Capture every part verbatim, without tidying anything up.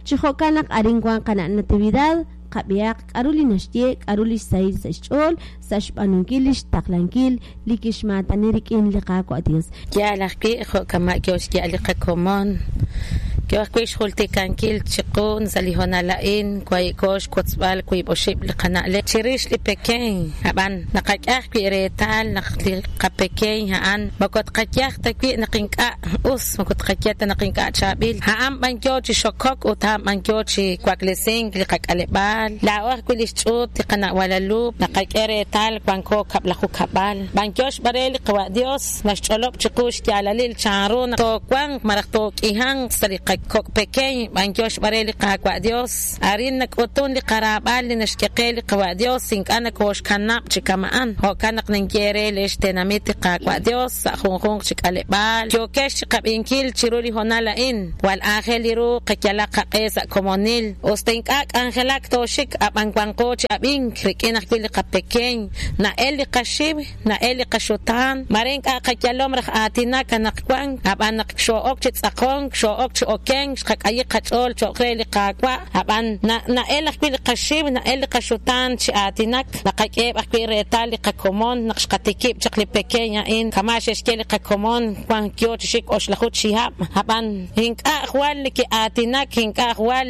Chi jo'kan naq arin wan qana' Natividad, qab'ihaq k'aru li naxye, k'aru li xsahil sa' xch'ool sa' xb'aanunkil li xtaqlankil li kixmaatani rik'in li Qaawa' Dios. Yaal ajwi' jo' kama' yo xya'al li qakomon, yo ajwi' xjultikankil chiqu sa' li hoonal a'in wahi'ko xwotzb'al wiib' oxib' li qana'leb' chirix li pekeñ. Ab'an naqak'e ajwi' reetal naq li qapekeñ a'an moko tqayaj ta wi' naq ink'a' us, moko tqaye ta naq ink'a' chaab'il, a'an b'an yo chi xokok ut a'an b'an yo chi waklesink li qak'aleb'aal. Laa'o ajwi' li xch'uut li qana' Guadalupe naqak'e reetal wanko kab'laju kab'al, b'an yo xb'are li Qawa' Dios naxch'olob' chiqu xyaalalil chanru naq toowanq malaj took'ihanq sa' li qakok' pekeñ, b'an yo xb'are li Qaawa' Dios. Arin nak'utun li qaraab'al li naxk'e qe li Qawa' Dios, ink'a' nakooxkanab' chi kama'an. Jo'kan naq ninye re li xtenamit li Qaawa' Dios sa' junjunq chi k'aleb'aal yookex chi qab'inkil chiru li hoonal a'in, jwal aajel li ru qayalaq qaq'e sa' komonil, usta ink'a' k'anjelak tooxik ab'an wanqo chi ab'ink rik'in ajwi' li qapekeñ, na'el li qaxiw, na'el li qaxutaan, mare ink'a' qayalom raj aatinak anaqwan, ab'an naq xoo'ok chi tz'aqonk, xoo'ok chi okenk, xqak'ayi qach'ool cho'q re li Qaawa', ab'an na'el ajwi' li qaxiw, na'el li qaxutaan chi aatinak, naqak'eheb' ajwi' reetal li qakomon naq xqatikib' chaq li pekeñ a'in, kama' xe'xye li qakomon wank yo chi xik oxlaju chihab', ab'an ink'a' jwal neke'aatinak, ink'a' jwal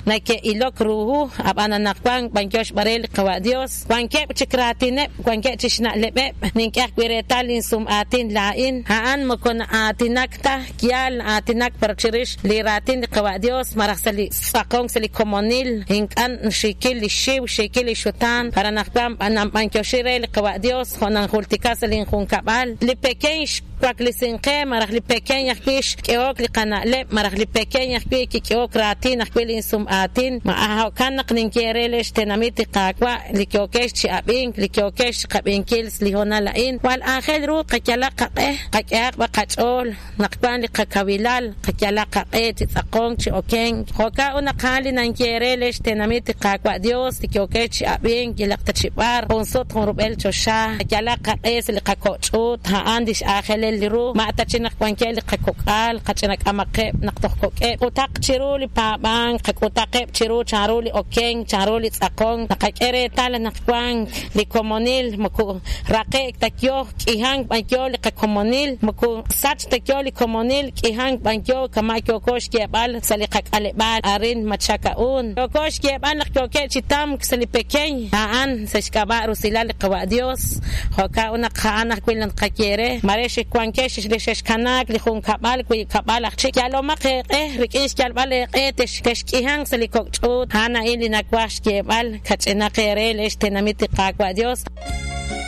neke'ilok ruhu, ab'an anaqwan b'an yo xb'are li Qawa' Dios, wankeb' chik raatineb', wankeb' chi xna'leb'eb', nink'e ajwi' reetal linsum'aatin laa'in, a'an moko na'aatinak ta, yaal na'aatinak pero chirix li raatin li Qawa' Dios malaj sa' li tz'aqonk sa' li komonil, ink'a' xiikil li xiw, xiikil li xutaan, para anaqwan b'anyoxi re li Qawa' Dios jo' nanjultika sa' linjunkab'al. Li pekeñ xwaklesinqe malaj li pekeñ ajwi' xk'ehok li qana'leb', malaj li pekeñ ajwi' kik'ehok raatin ajwi' linsum'aatin, ma jo'kan naq ninye re li xtenamit li Qaawa' li yookex chi ab'ink, li yookex chi qab'inkil li hoonal a'in, jwal aajel ru qayalaq qaq'e, qak'ehaq b'a qach'ool naq wan li qakawilal, qayalaq qaq'e chi tz'aqonk chi okenk. Jo'kan ut naq a'an li ninye re li xtenamit li Qaawa' Dios li yookex chi ab'ink yalaq ta chi b'ar, jun sut jun rub'el choxa, qayalaq qaq'e sa' li qako'ch'uut, a'an li x'aajelel li ru, ma ta chi naq wankeb' li qakok'al, qach'inak'amaqeb' naq toj kok'eb', k'utaq chiru li paab'ank, qak'utaqeb' chiru chanru li okenk, chanru li tz'aqonk, naqak'e reetal naq wank li komonil, moko raqe'k ta yo k'ihank b'an yo li qakomonil, moko sach ta yo li komonil, k'ihank b'an yo kama' yooko xyeeb'al sa' li qak'aleb'aal arin Machaka'un. Yooko xyeeb'al naq yookeb' chi tamk sa' li pekeñ, a'an sa' xk'ab'a' rusilal li Qawa' Dios, jo'kan ut naq a'an ajwi' li naqaye re, mare xwankex li xexkanaak li junkab'al wiib' kab'al aj chik, yalomaq eeq'e rik'in xyalb'al eeq'e texk'ihanq sa' li kok' ch'uut, a'an a'in li nawaj xyeeb'al kach'inaq eere li xtenamit li Qaawa' Dios.